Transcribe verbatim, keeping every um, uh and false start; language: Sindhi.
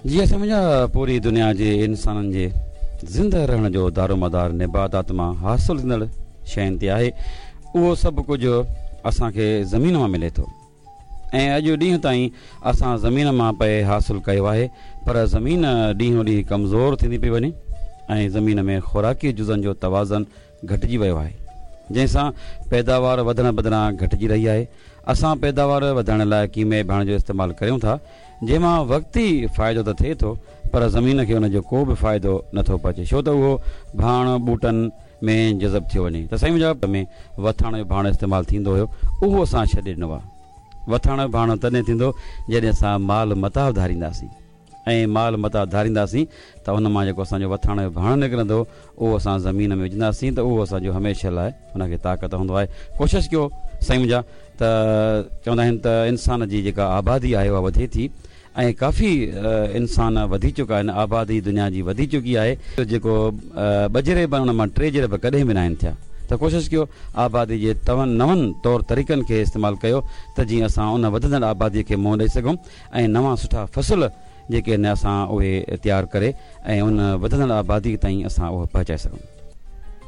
جي اسان منهنجا پوري دنيا جي انسانن جي زنده رهڻ جو دارومدار نباتات مان حاصل ٿيندڙ شين تي آهي. اهو سڀ ڪجهه اسان کي زمين مان ملي ٿو ۽ اڄ ڏينهن تائين اسان زمين مان پئي حاصل ڪيو آهي، پر زمين ڏينهون ڏينهن ڪمزور ٿيندي پئي وڃي ۽ زمين ۾ خوراڪي جزن جو توازن گهٽجي ويو آهي، جنهن سان پيداوار وڌڻ بدران گهٽجي رهي آهي. اسان پيداوار وڌائڻ لاء ڪيميائي ڀاڻ جو استعمال ڪريون ٿا، جنهن مان وقتي فائدو ته ٿئي ٿو، پر زمين کي ان جو ڪو به فائدو نٿو پهچي، ڇو ته اهو ڀاڻ ٻوٽن ۾ جذب ٿيو وڃي. ته سائين منهنجا ۾ وٿاڻ جو ڀاڻ استعمال ٿيندو هيو، اهو اسان ڇڏي ڏنو آهي. وٿاڻ جو ڀاڻ تڏهن ٿيندو جڏهن اسان مال متاع ڌارينداسين، ۽ مال متاع ڌارينداسين ته ان مان جيڪو اسان جو وٿاڻ جو ڀاڻ نڪرندو اهو اسان زمين ۾ وجهنداسين ته اهو اسان جو هميشه لاء ان کي طاقت هوندو آهي. ڪوشش ڪيو سائين منهنجا ته چوندا آهن ته انسان جي جيڪا آبادي آهي اها وڌي ٿي ۽ ڪافي انسان وڌي چڪا آهن، آبادي دنيا جي وڌي چڪي آهي، جيڪو ٻه جريب آهن ان مان ٽي جريب ڪڏهن به ناهن ٿيا، ته ڪوشش ڪيو آبادي جي نون طور طريقن کي استعمال ڪيو ته جيئن اسان ان وڌندڙ آبادي کي منهن ڏئي سگهون ۽ نوان سٺا فصل جيڪي آهن اسان اهي تيار ڪري ۽ ان وڌندڙ آبادي تائين اسان اهو پهچائي سگهون.